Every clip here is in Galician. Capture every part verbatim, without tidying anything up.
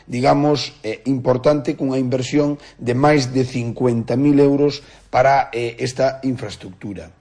digamos, eh, importante, cunha inversión de máis de cincuenta mil euros para eh, esta infraestructura.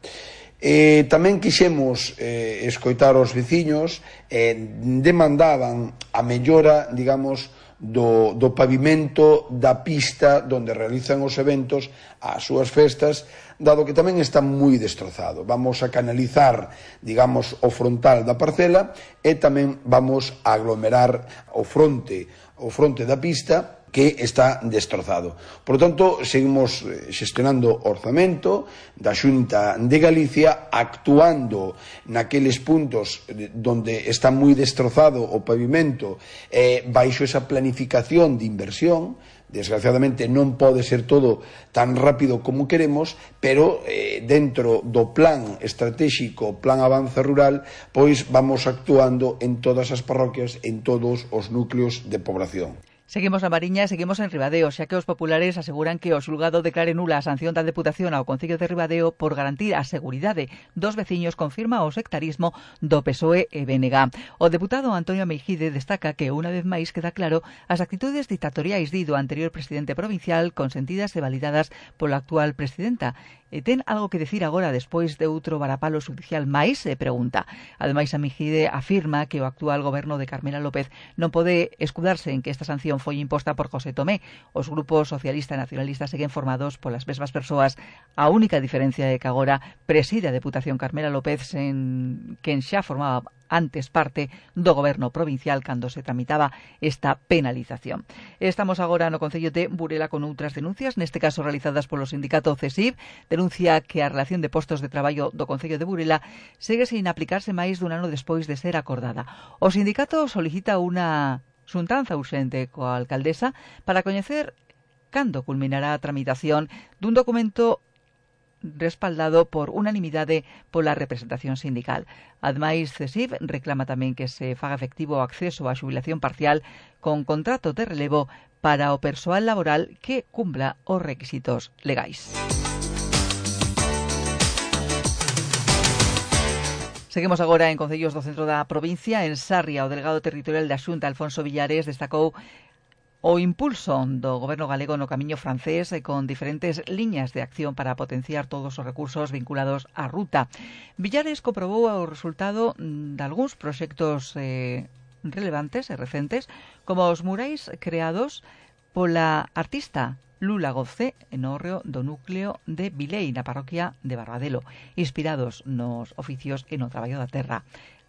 Eh, tamén quixemos eh, escoitar os veciños, eh, demandaban a mellora, digamos, do, do pavimento da pista onde realizan os eventos, as súas festas, dado que tamén está moi destrozado. Vamos a canalizar, digamos, o frontal da parcela e tamén vamos a aglomerar o fronte, o fronte da pista que está destrozado. Por lo tanto, seguimos xestionando orzamento da Xunta de Galicia, actuando naqueles puntos onde está moi destrozado o pavimento, eh, baixo esa planificación de inversión. Desgraciadamente non pode ser todo tan rápido como queremos, pero eh, dentro do plan estratégico, plan avance rural, pois vamos actuando en todas as parroquias, en todos os núcleos de población. Seguimos na Mariña e seguimos en Ribadeo, xa que os populares aseguran que o xulgado declare nula a sanción da Deputación ao Concello de Ribadeo por garantir a seguridade dos veciños, confirma o sectarismo do P S O E e B N G. O deputado Antonio Meijide destaca que unha vez máis queda claro as actitudes dictatoriais do anterior presidente provincial, consentidas e validadas pola actual presidenta. E ten algo que decir agora despois de outro varapalo judicial máis, e pregunta. Ademais, a Meijide afirma que o actual goberno de Carmela López non pode escudarse en que esta sanción foi imposta por José Tomé. Os grupos socialista e nacionalista seguen formados polas mesmas persoas. A única diferencia é que agora preside a Deputación Carmela López, en quen xa formaba antes parte do goberno provincial cando se tramitaba esta penalización. Estamos agora no Concello de Burela con outras denuncias, neste caso realizadas polo sindicato C E S I V, denuncia que a relación de postos de traballo do Concello de Burela segue sin aplicarse máis dun ano despois de ser acordada. O sindicato solicita unha xuntanza urxente coa alcaldesa para coñecer cando culminará a tramitación dun documento respaldado por unanimidade pola representación sindical. Ademais, C E S I V reclama tamén que se faga efectivo o acceso á xubilación parcial con contrato de relevo para o persoal laboral que cumpla os requisitos legais. Seguimos agora en concellos do centro da provincia. En Sarria, o delegado territorial da Xunta, Alfonso Villares, destacou o impulso do goberno galego no camiño francés e con diferentes liñas de acción para potenciar todos os recursos vinculados á ruta. Villares comprobou o resultado de algúns proxectos eh, relevantes e recentes, como os murais creados pola artista Lula Gocé en hórreo do núcleo de Vilei, na parroquia de Barbadelo, inspirados nos oficios e no traballo da terra.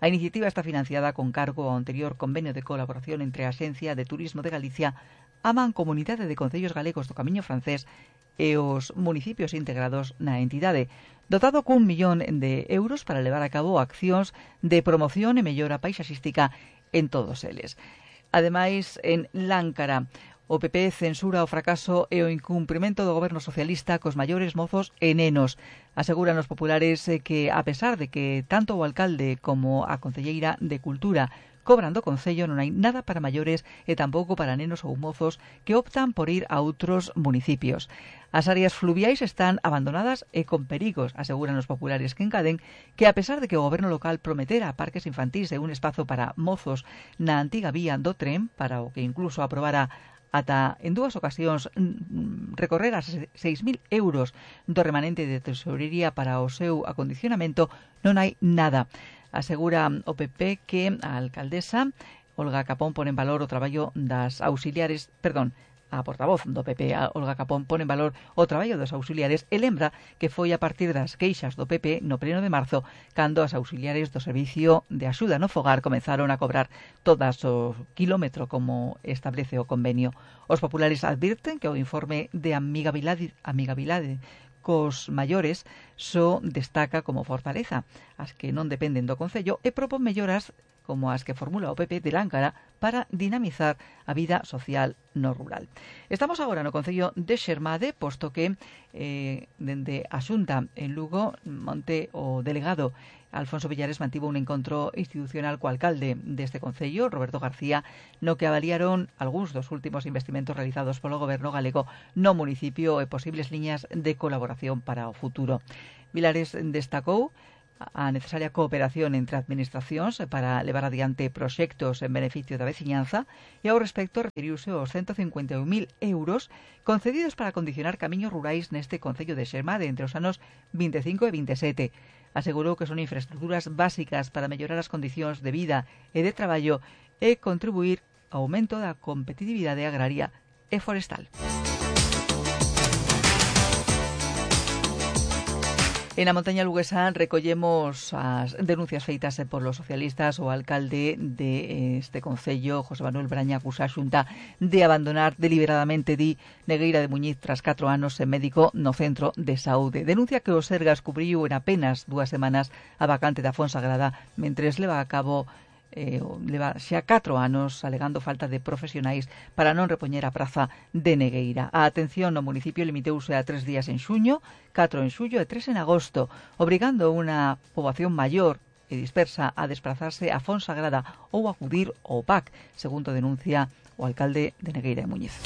A iniciativa está financiada con cargo ao anterior convenio de colaboración entre a Axencia de Turismo de Galicia, a Mancomunidade de Concellos Galegos do Camiño Francés e os municipios integrados na entidade, dotado cun millón de euros para levar a cabo accións de promoción e mellora paisaxística en todos eles. Ademais, en Láncara, o P P censura o fracaso e o incumprimento do goberno socialista cos maiores mozos e nenos. Aseguran os populares que, a pesar de que tanto o alcalde como a concelleira de Cultura cobran do Concello, non hai nada para maiores e tampouco para nenos ou mozos que optan por ir a outros municipios. As áreas fluviais están abandonadas e con perigos, aseguran os populares, que encaden que, a pesar de que o goberno local prometera parques infantís e un espazo para mozos na antiga vía do tren, para o que incluso aprobara ata en dúas ocasións recorrer as seis mil euros do remanente de tesorería para o seu acondicionamento, non hai nada. Asegura o P P que a alcaldesa Olga Capón pone en valor o traballo das auxiliares, perdón, a portavoz do P P, a Olga Capón, pone en valor o traballo dos auxiliares e lembra que foi a partir das queixas do P P no pleno de marzo cando as auxiliares do Servicio de Axuda no Fogar comenzaron a cobrar todas o quilómetro como establece o convenio. Os populares advirten que o informe de amigabilidade, amigabilidade cos maiores só destaca como fortaleza as que non dependen do Concello e propón melloras como as que formula o P P de Láncara para dinamizar a vida social no rural. Estamos agora no Concello de Xermade, posto que eh, dende a Xunta en Lugo, monte o delegado Alfonso Villares mantivo un encontro institucional co alcalde deste Concello, Roberto García, no que avaliaron algúns dos últimos investimentos realizados polo goberno galego no municipio e posibles liñas de colaboración para o futuro. Villares destacou a necesaria cooperación entre administracións para levar adiante proxectos en beneficio da veciñanza e ao respecto referiuse aos ciento cincuenta e un mil euros concedidos para condicionar camiños rurais neste concello de Xermade entre os anos vinte e cinco e vinte e sete. Asegurou que son infraestructuras básicas para mellorar as condicións de vida e de traballo e contribuir ao aumento da competitividade agraria e forestal. En a montaña luguesa recollemos as denuncias feitas por los socialistas o alcalde de este concello, José Manuel Braña, acusa a Xunta de abandonar deliberadamente, di, Negueira de Muñiz tras catro anos en médico no centro de saúde. Denuncia que o Sergas cubriu en apenas dúas semanas a vacante da Fonsagrada mentres leva a cabo Eh, leva xa catro anos alegando falta de profesionais para non repoñer a praza de Negueira. A atención no municipio limiteuse a tres días en xuño, catro en xullo e tres en agosto, obrigando unha poboación maior e dispersa a desplazarse a Fonsagrada ou acudir ao P A C, segundo denuncia o alcalde de Negueira de Muñiz.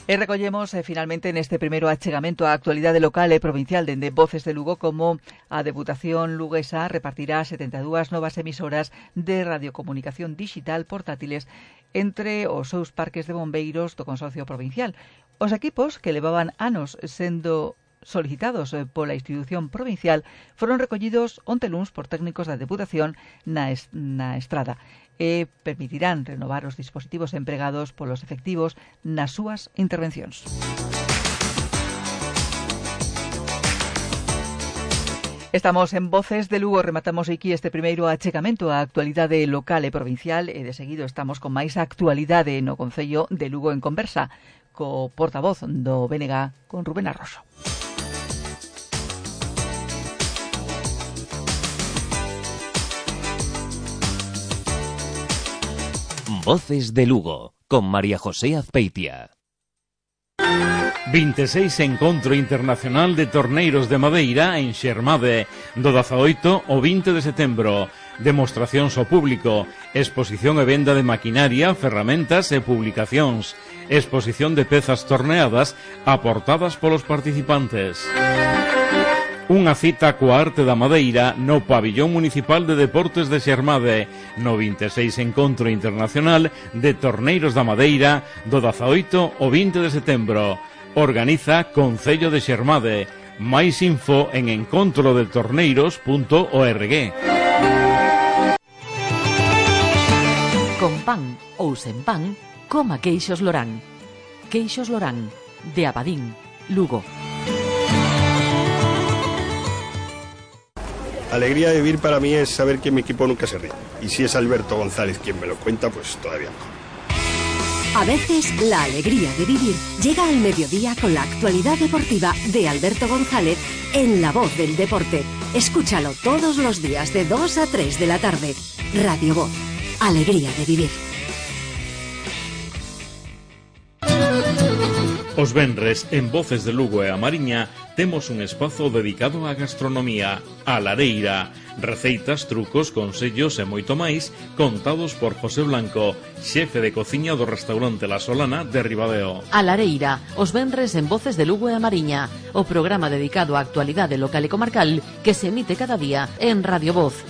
E recollemos eh, finalmente neste primeiro achegamento a actualidade local e provincial dende Voces de Lugo como a Deputación luguesa repartirá setenta e dúas novas emisoras de radiocomunicación digital portátiles entre os seus parques de bombeiros do Consorcio Provincial. Os equipos que levaban anos sendo solicitados pola institución provincial foron recollidos onte luns por técnicos da Deputación na, est na Estrada e permitirán renovar os dispositivos empregados polos efectivos nas súas intervencións. Estamos en Voces de Lugo, rematamos aquí este primeiro achegamento á actualidade local e provincial e de seguido estamos con máis actualidade no Concello de Lugo en conversa co portavoz do B N G, con Rubén Arroso. Voces de Lugo, con María José Azpeitia. vinte e seis Encontro Internacional de Torneiros de Madeira en Xermade, do dezaoito ao vinte de setembro. Demostracións ao público, exposición e venda de maquinaria, ferramentas e publicacións, exposición de pezas torneadas aportadas polos participantes. Unha cita coa arte da madeira no Pabillón Municipal de Deportes de Xermade, no vinte e seis Encontro Internacional de Torneiros da Madeira, do dezaoito ao vinte de setembro. Organiza Concello de Xermade. Máis info en encontro de torneiros punto org. Con pan ou sen pan, coma queixos Lorán. Queixos Lorán, de Abadín, Lugo. Alegría de vivir para mí es saber que mi equipo nunca se rinde. Y si es Alberto González quien me lo cuenta, pues todavía mejor. A veces, la alegría de vivir llega al mediodía con la actualidad deportiva de Alberto González en La Voz del Deporte. Escúchalo todos los días de dos a tres de la tarde. Radio Voz. Alegría de vivir. Os venres, en Voces de Lugo e a Mariña, temos un espazo dedicado á gastronomía, a lareira, receitas, trucos, consellos e moito máis, contados por José Blanco, xefe de cociña do restaurante La Solana de Ribadeo. A lareira, os venres en Voces de Lugo e a Mariña, o programa dedicado á actualidade local e comarcal que se emite cada día en Radio Voz.